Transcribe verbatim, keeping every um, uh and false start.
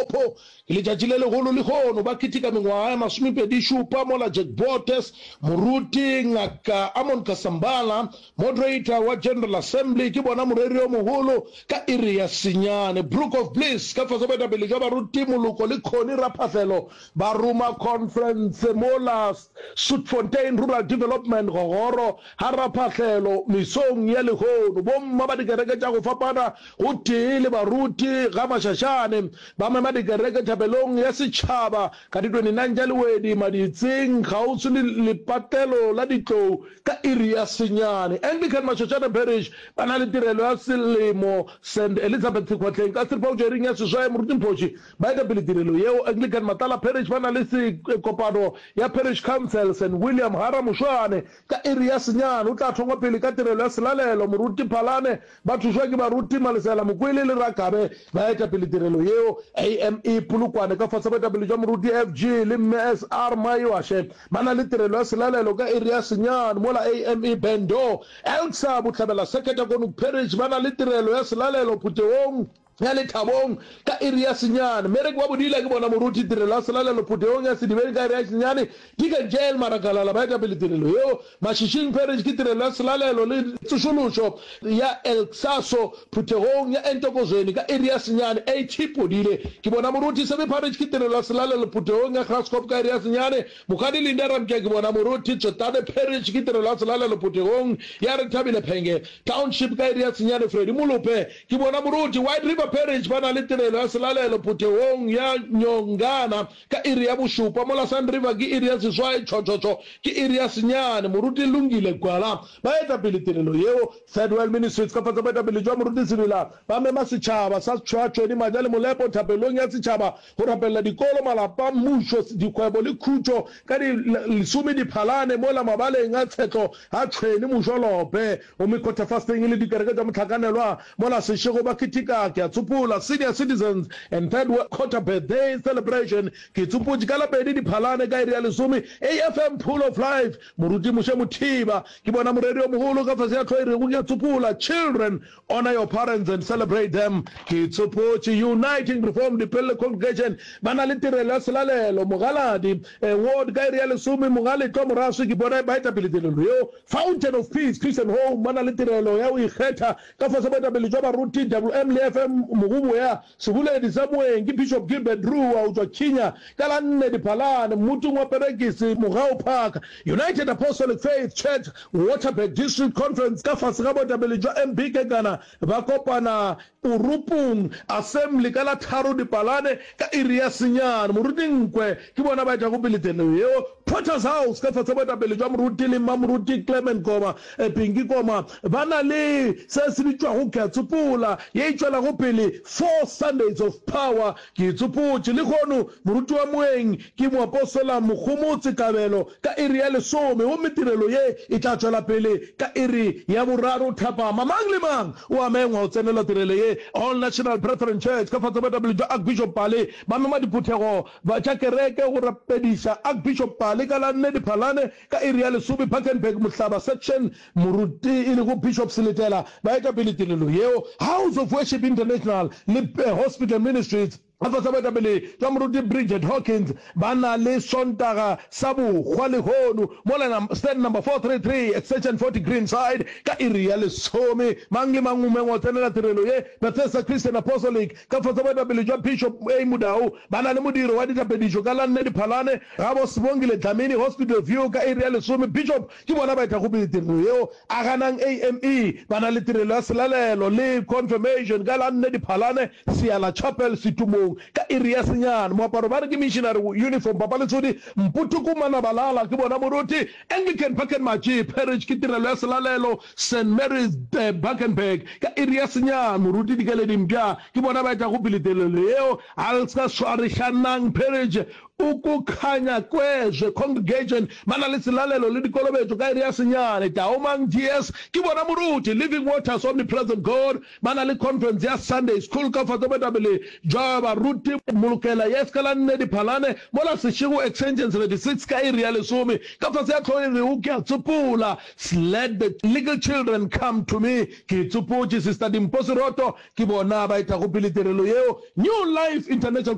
Limpopo ke letšatši le legolo lehono, ba keteka mengwaga ya masomepedi šupa mola Jack Botes, Moruti Ngaka Amon Kasambala, Moderator wa General Assembly, ke bona moreri yo mogolo ka iri ya senyane. Brook of Bliss ka fase boetapele jwa baruti Moloko le Connie Raphahlelo ba roma conference mola Soetfontein Rural Development Gogoro ga Raphahlelo mesong ya lehono. Bomma ba dikereke tša go fapana gotee le baruti ga Mashashane ba mema dikereke thapelong ya setšhaba ka di twenty nine tša Lewedi Maditseng kgauswi le lepatlelo la ditlou ka iri ya senyane. Anglican Mashashane Parish ba na le tirelo ya selemo Saint Elizabeth Sekhwatleng ka seripa go tšwa iring ya seswai. Moruti Mphoši ba eta pele tirelo yeo. Anglican Matlala Parish ba na le kopano ya Parish Council Saint William Hara Mošwane ka iri ya senyane. O tla thongwa pele ka tirelo ya selalelo. Moruti Phalane ba thušwa ke baruti Malesela Mokwele le Rakabe ba eta pele tirelo yeo. A M E Polokwane ka fase boetapele jwa Moruti F G le Mme S R Maiwashe ba na le tirelo ya selalelo ka iri ya senyane, mola A M E Bendo Elksa Bohlabela Seketa Konuk Parish ba na le tirelo ya selalelo phuthegong ya Lethabong ka iri ya senyane. Mmereki wa bodila ke bona moruti tirelo ya selalelo phuthegong ya Sedibeng ka iri ya senyane. Deacon J L Marakalala ba eta pele tirelo yeo. Mashishing Parish ke tirelo ya selalelo le tsošološo ya Elksaso phuthegong ya Entokozweni ka iri ya senyane. A T Podile ke bona moruti Sebe Parish ke tirelo ya selalelo phuthegong ya Graskop ka iri ya senyane. Mokgadi Linda Ramtja ke bona moruti Tsotane Parish ke tirelo ya selalelo phuthegong ya Rethabile Phenge Township ka iri ya senyane. Freddy Molope ke bona moruti White River Parish ba na le tirelo ya selalelo phuthegong ya Nyongana ka iri ya bošupa, mola Sun River ke iri ya seswai, Tšhotšhotšho ke iri ya senyane. Moruti Lungile Gwala ba eta pele tirelo yeo. Third World Ministries ka fase boetapele jwa Moruti Sebela ba mema setšhaba sa Tšhwaatšhweni, Maja le Molepo thapelong ya setšhaba go rapelela dikolo, malapa, mmušo, dikgwebo le khutšo ka di lesome Diphalane mola mabaleng a Tshetlo ga Tšhweni Mošolope gomme quarter fasting e le dikereke tša mohlakanelwa mola Seshego ba keteka ke a tsopola Senior Citizens and Third Quarter Birthday Celebration ke tsopotše ka la pedi Diphalane ka iri ya lesome A F M Pool of Life Moruti Moshe Mothiba ke bona moreri yo mogolo ka fase ya hlogo e rego ke a tsopola Children, Honor Your Parents and Celebrate Them ke tsopotše Uniting Reformed Dipelle Congregation ba na le tirelo ya selalelo Mogaladi Ward ka iri ya lesome Mogaletlo Moraswi ke bona baetapele tirelo yeo Fountain of Peace Christian Home ba na le tirelo ya go ikgetha ka fase boetapele jwa baruti W M le F M Mogoboya seboledi sa moeng ke Bishop Gilbert Rua go tšwa Kenya ka la nne Diphalane mmutung wa Perekisi Mogau Park United Apostolic Faith Church Waterberg District Conference ka fase ga boetapele jwa M B Kekana ba kopana Orupung Assembly ka la tharo Dipalane ka iri ya senyane. Moruti Nkwe ke bona ba etago pele tirelo yeo. Potter's House ka fase boetapele jwa Moruti le Mmamoruti Clement Koma, Pinky Koma ba na le se se bitšwago Ke a Tsopola ye e tšwelago pele Four Sundays of Power. Ke e tsopotše lehono. Moruti wa moeng ke Moapostola Mogomotse Kabelo ka iri ya lesome gomme tirelo ye e tla tšwela pele ka iri ya boraro thapama. Mang le mang o a mengwa go tsenela tirelo ye. All National Brethren Church ka fase boetapele jwa Archbishop Pale ba mema diphuthego tša kereke go rapediša Archbishop Pale ka la nne Diphalane ka iri ya lesome Bakenberg Mohlaba Section. Moruti e lego Bishop Seletela ba eta pele tirelo yeo. House of Worship International le Hospital Ministries ka fase ga boetapele jwa Moruti Bridget Hawkins ba na le Sontaga sa Bohwa lehono mola stand number four three three extension forty Greenside ka iri ya lesome. Mang le mang o mengwa go tsenela tirelo ye. Bethesda Christian Apostolic ka fase ga boetapele jwa Bishop A Mudau ba na le modiro wa dithapedišo ka la nne Diphalane gabo Sibongile Dlamini Hospital View ka iri ya lesome. Bishop ke bona ba etago pele tirelo yeo. Aganang A M E ba na le tirelo ya selalelo le confirmation ka la nne Diphalane Seala Chapel Setumong ka iri ya senyane. Moaparo ba re ke missionary uniform. Papa Lesodi Mputuku Manabalala ke bona moruti. Anglican Bakenmatši Parish ke tirelo ya selalelo Saint Mary's Bakenberg ka iri ya senyane. Moruti Dikeledi Mpša ke bona ba etago pele tirelo yeo. Alska Swarišanang Parish Ukukhanya Kwezwe Congregation ba na le selalelo le dikolobetšo ka iri ya senyane. Taomang G S ke bona moruti. Living Waters Omnipresent God ba na le conference ya Sunday School ka fase boetapele jwa baruti Molokela Yes ka la nne Diphalane mola Seshego Extension seventy six ka iri ya lesome ka fase ya hlogo e rego Ke a Tsopola Let the Little Children Come to Me Ke Tsopotše Sister Dimpho Seroto ke bona ba etago pele tirelo yeo. New Life International